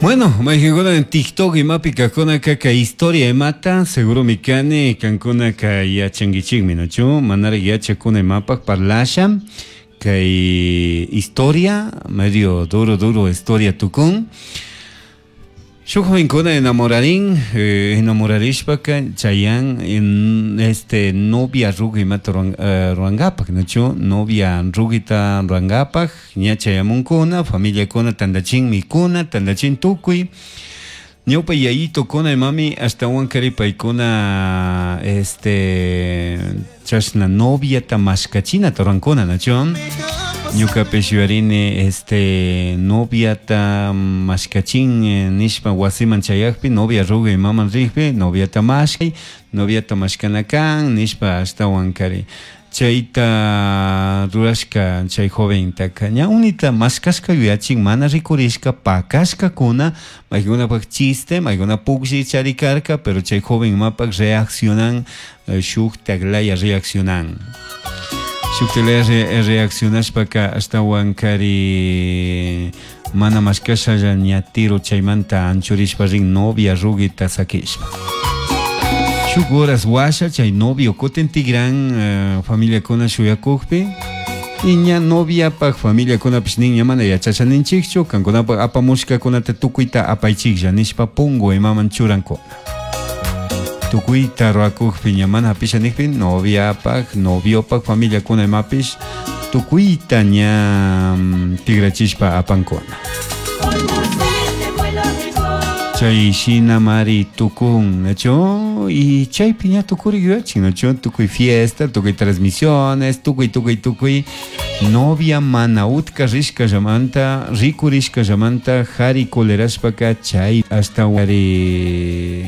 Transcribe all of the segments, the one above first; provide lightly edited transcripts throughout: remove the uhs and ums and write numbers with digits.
Bueno, mayqankuna en TikTok imapi kaqkunaka kay historia imata seguro kani kankunaka yachankichikmi, nachu? Manaraq yachakuna imapaq parlasha kay historia medio duro duro historia tukun. Shuk jovenkuna enamorarin, enamorarishpaka chayan en, este novia rugi imata rurankapak, nachu? Novia rugita rurankapak ña chayamunkuna, familiakuna tantachin mikuna, tantachin tukuy. Ñawpa yayitokuna imami ashtawankari paykuna este chashna noviata mashkachinata rurankuna, nachu? Ñukapish yuyarini este noviata mashkachin nishpa wasiman chayakpi novia rugi imaman rikpi noviata mashkay, noviata mashkana kan nishpa ashtawankari chayta rurashka chay joventaka ña unita mashkashka yuyachin mana rikurishka pakashkakuna maykunapak chiste maykuna puklli charikarka, pero chay joven imapak reaccionan shuktak laya reaccionan shuktak laya reaccionashpaka ashtawankari mana mashkashalla ña tiro chaymanta anchurishpa rin novia rugita sakishpa. Shuk horas washa chay novio kutin tigran familiakuna shuyakukpi y ña noviapak familiakunapish nin ña mana yachashaninchikchu kankunapak apamushkakunata tukuyta apaychiklla nishpa pungu imaman churankuna. Tukuyta rurakukpi ña mana hapisha nikpi noviapak noviopak familiakuna imapish tukuyta ña tigrachishpa apankuna. Chay shina mari tukun, nachu? Y chaypi ña tukuri yuyachin, nachu? Tukuy fiesta, tukuy transmisiones, tukuy, tukuy, tukuy. Novia mana utka rishkallamanta, rikurishkallamanta, jari colerashpaka chay hasta wari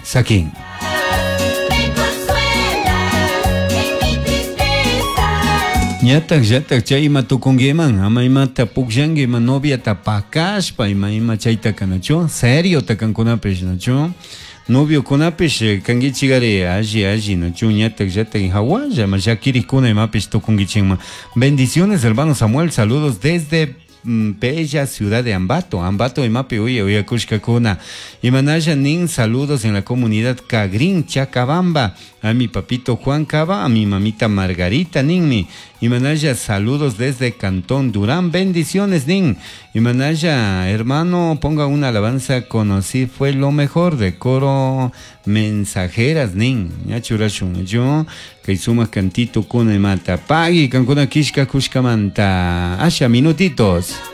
sakin. Ñatak llatak chay ima tukunkiman, ama imata pukllanki ima noviata pakashpa ima ima chaytaka, nachu? Serio takankunapish, nachu? Noviokunapish kankichikari alli alli, nachu? Ñatak llatak hawalla ma llakirikkuna imapish tukunkichikman. Bendiciones, hermano Samuel, saludos desde bella ciudad de Ambato, Ambato imapi uya uyakushkakuna. Imanalla nin saludos en la comunidad Cagrín, Chacabamba, a mi papito Juan Cava, a mi mamita Margarita ninmi. Imanalla saludos desde Cantón Durán, bendiciones nin. Imanalla, hermano, ponga una alabanza, conocí, fue lo mejor de coro mensajeras nin. Ya churashun, yo kay sumak cantito kuna imata. Pagui kankuna kishka kushkamanta. Asha minutitos.